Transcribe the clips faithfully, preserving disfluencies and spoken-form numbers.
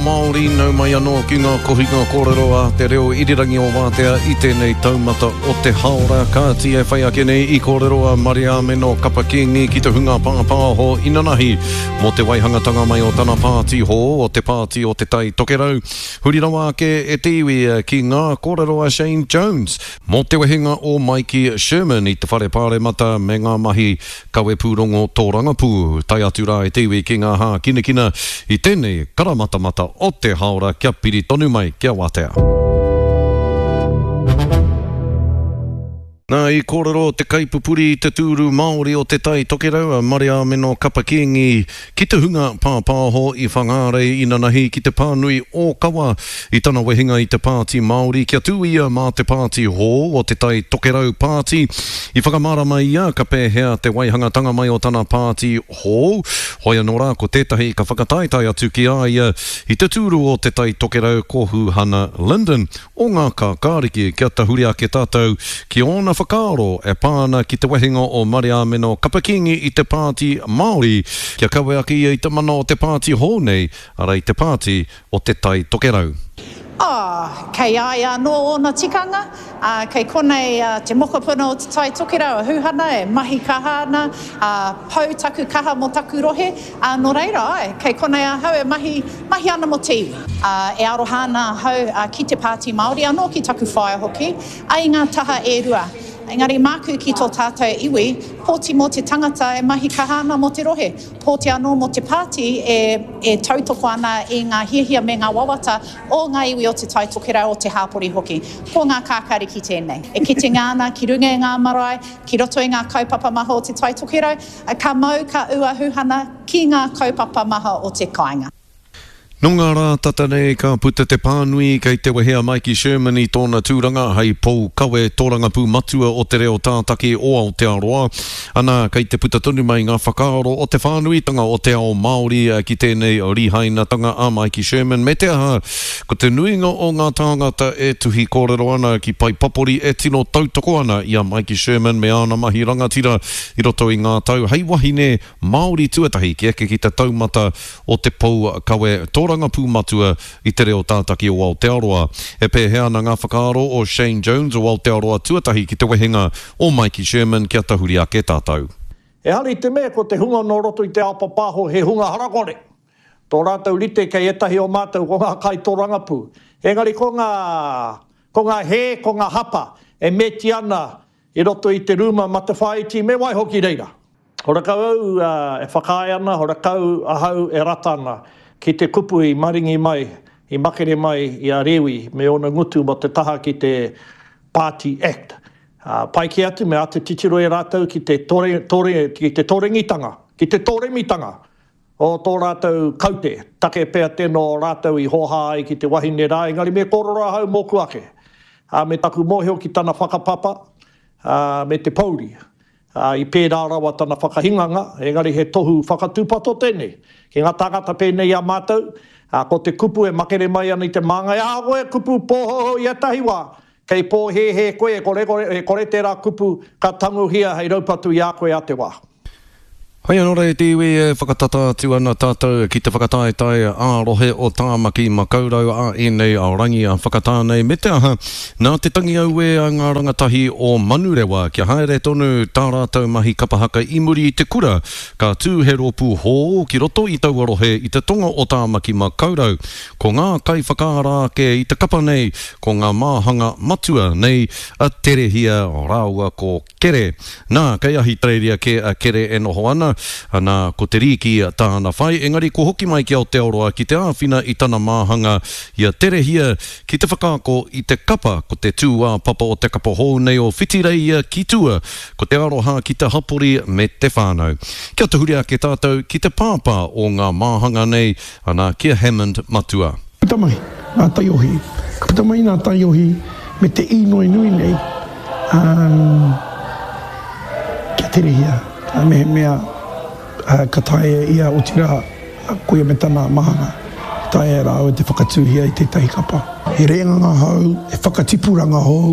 Māori, nau mai anō ki ngā kohinga kōrero a te reo irirangi o Wātea i tēnei taumata o te haora. Kāti e whai ake nei i kōrero a Mariāmeno Kapa Kīngi ki te hunga pāpāho inanahi mō te waihangatanga mai o tana pāti hou, o te Pāti o Te Tai Tokerau. Huri rawa ake e te iwi ki ngā kōrero a Shane Jones mō te wehenga o Maiki Sherman i te Whare Pāremata me ngā mahi kawepūrongo tōrangapū. Tae atu rā e te iwi ki ngā hākinakina i tēnei karamatamata o te haora kia piri tonu mai kia wātea. Nā, i kōrero te kaipupuri i te tūru Māori o Te Tai Tokerau, a Mariāmeno Kapa Kīngi, ki te hunga pāpāho i Whangārei inanahi ki te pānui ōkawa i tana wehenga i te Pāti Māori kia tū ia mā te pāti hou o Te Tai Tokerau Pāti. I whakamārama ia ka pēhea te waihangatanga mai o tana pāti hou. Hoi anō rā, ko tētahi ka whakataetae atu ki a ia i te tūru o Te Tai Tokerau ko Huhana Lyndon o Ngā Kākāriki. Kia tahuri ake tātou ki ōna whakaaro e pā ana ki te wehenga o Mariāmeno Kapa Kīngi i te Pāti Māori, kia kawe ake ia i te mana o te pāti hou nei, arā i te Pāti o Te Tai Tokerau. Ā, kei a ia anō ōna tikanga, ā, kei konei te mokopuna o Te Tai Tokerau a Huhana e mahi kaha ana, ā, pau taku kaha mō taku rohe, ā, nō reira, āe, kei konei ahau e mahi, mahi ana mō te iwi. Ā, e aroha ana ahau ki te Pāti Māori, anō ki taku whaea hoki, ā, i ngā taha e rua. Engari māku ki tō tātou iwi, pōti mō te tangata e mahi kaha ana mō te rohe, pōti anō mō te pāti e, e tautoko ana i ngā hiahia me ngā wawata o ngā iwi o Te Tai Tokerau, o te hāpori hoki. Ko ngā kākāriki tēnei. E kitenga ana ki runga i ngā marae, ki roto i ngā kaupapa maha o Te Tai Tokerau, ka mau, ka ū a Huhana ki ngā kaupapa maha o te kāinga. Nō ngā rā tata nei ka puta te pānui kei te wehe a Maiki Sherman i tōna tūranga hei pou kawe tōrangapū matua o te reo tātaki o Aotearoa. Ana, kei te puta tonu mai ngā whakaaro o te whānuitanga o te ao Māori ki tēnei rihainatanga a Maiki Sherman me te aha, ko te nuinga o ngā tāngata e tuhi kōrero ana ki pae papori e tino tautoko ana i a Maiki Sherman me āna mahi rangatira i roto i ngā tau hei wahine Māori tuatahi ki eke ki te taumata o te pou kawe tōrangapū matua i te reo tātaki o Aotearoa. E pēhea ana ngā whakaaro o Shane Jones o Aotearoa tuatahi ki te wehenga o Maiki Sherman kia tahuri ake tātou? Ehara i te mea ko te hunga nō roto i te ao papaho he hunga harakore. Tō rātou rite kei ētahi o mātou ko ngā kaitōrangapū. Engari ko ngā, ko ngā hē, ko ngā hapa e meti ana i roto i te rūma matawhāiti me waiho ki reira. Horakau au e whakaae ana, horakau ahau e rata ana ki te kupu i maringi mai, i makere mai i a Rewi me ōna ngutu mō te taha ki te Party Act. Pai kē atu me āta titiro e rātou ki te tore, tore, ki te torengitanga, ki te tōremitanga o tō rātou kaute. Take pea tēnō rātou i hōhā ai ki te wahine rā, engari me kōrero ahau mōku ake, ā, me taku mōhio ki tana whakapapa, ā, me te pōuri. Ā, i pērā rawa tana whakahinganga, engari he tohu whakatūpato tēnei ki ngā tāngata pēnei i a mātou, ā, ko te kupu e makere mai ana i te māngai, ahakoa he kupu pōhouhou i ētahi wā, kei pōhēhē koe, e kore, e kore tērā kupu ka tangohia hei raupatu i a koe a te wā. Hei anō rā e te iwi, e whakatata atu ana tātou ki te whakataetae ā-rohe o Tāmaki Makaurau a ēnei rangi a Whakatāne me te aha, nā te tangi auē a ngā rangatahi o Manurewa kia haere tonu tā rātou mahi kapa haka i muri i te kura, ka tū he rōpū hōu ki roto i taua rohe i te tonga o Tāmaki Makaurau. Ko ngā kaiwhakaara ake i te kapa nei ko ngā māhanga matua nei a Terehia rāua ko Kere. Nā, kei Ahitereiria kē a Kere e noho ana, nā, ko te rīki tāna whai, engari kua hoki mai ki Aotearoa ki te āwhina i tana māhanga i a Terehia ki te whakaako i te kapa, ko te tūāpapa o te kapa hou nei o Whitireia ki tua, ko te aroha ki te hapori me te whānau. Kia tahuri ake tātou ki te pāpā o ngā māhanga nei, ana, ki a Hammond Matua. Puta mai ngā taiohi, ka puta mai ngā taiohi me te īnoi nui nei, kia terehia, mehemea ka taea e ia, otirā, koia me tana mahanga, e taea e rāua te whakatūhia i tētahi kapa. He rēnganga hou, he whakatipuranga hou,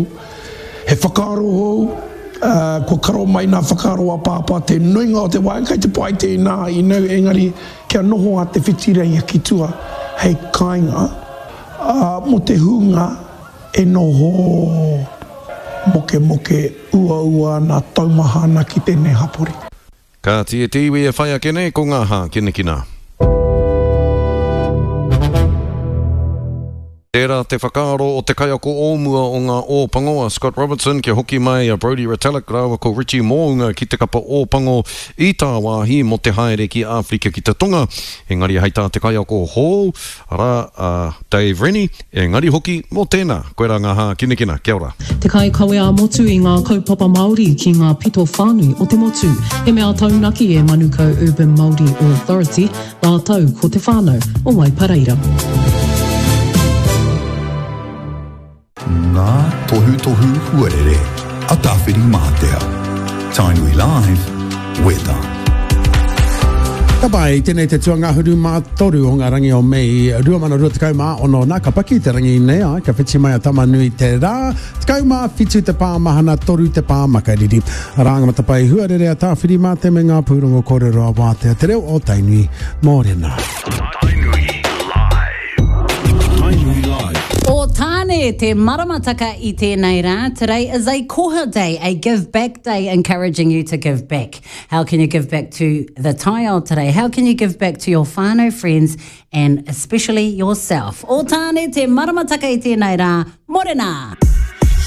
he whakaaro hou, kua karo mai nā whakaaro a Pāpā te nuinga o te wā, kei te pai tēnā, you know, engari kia noho a Te Whitireia ki tua hei kāinga mō te hunga e noho mokemoke uaua ana, taumaha ana ki tēnei hapori. Kāti e te iwi e whai ake nei ko ngā hākinakina. Tērā te whakaaro o te kaiako o mua o ngā Ōpango a Scott Robertson kia hoki mai a Brodie Retallick rāua ko Richie Mo'unga ki te kapa Ōpango i tāwāhi mō te haere ki Āwherika ki te Tonga. Engari hei tā te kaiako hou, arā, a Dave Rennie, engari hoki mō tēnā. Koirā ngā hākinakina. Kia ora. Te kaikawe ā-motu i ngā kaupapa Māori ki ngā pito whānui o te motu. He mea taunaki e Manukau Urban Māori Authority rātou ko te whānau o Waipareira. Ngā tohutohu huarere a Tāwhirimātea. Tainui Live, Weather. Ka pai, tēnei te tuangahuru mā toru o ngā rangi o Mei rua mano rua tekau mā ono nā, ka paki te rangi nei, ai, ka whiti mai a Tamanui te rā, tekau mā whitu te pā mahana, toru te pā makariri. Arā ngā matapae huarere a Tāwhirimātea me ngā pūrongo kōrero a Wātea, te reo o Tainui, mōrena. Tainui Live. Tainui Live. O Tāne te maramataka i tēnei rā. Today is a koha day, a give back day, encouraging you to give back. How can you give back to the taiao today? How can you give back to your whānau, friends, and especially yourself? O Tāne te maramataka i tēnei rā. Morena!